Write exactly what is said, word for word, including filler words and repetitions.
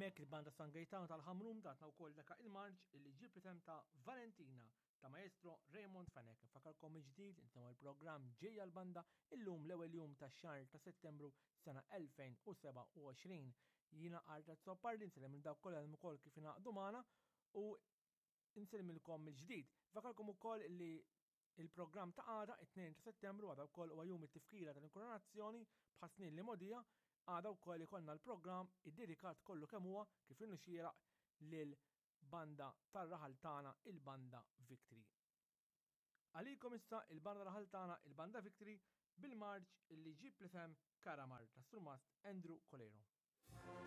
Hemmhekk il-Banda San Gaetano tal-Ħamrun tatna wkoll dak il-marċ illi ġie bl-isem ta' Valentina ta' Maestro Raymond Fenech. Nfakkarkom mill-ġdid intom il-programm Ġejja l-Banda illum l-ewwel jum tax-xahar ta' Settembru sena elfejn u sebgħa u għoxrin. Jiena Arthur Azzopardi nsellem lil dawk kollha li ukoll kif ingħaqdu magħna u nsellmilkom mill-ġdid. Nfakkarkom ukoll li il-programm ta' għada, it-tnejn ta' Settembru, għada wkoll huwa jum it-tifkira tal-inkoronazzjoni bħal snin li mogħdija, għada wkoll ikollna l-programm iddedikat kollu kemm huwa kif inhu xieraq lil banda tar-raħal tagħna, il-Banda Victory. Għalikom issa il-banda raħal tagħna, il-Banda Victory, bil-marċ illi ġib l-isem Karamar ta' Surmast Andrew Coleiro.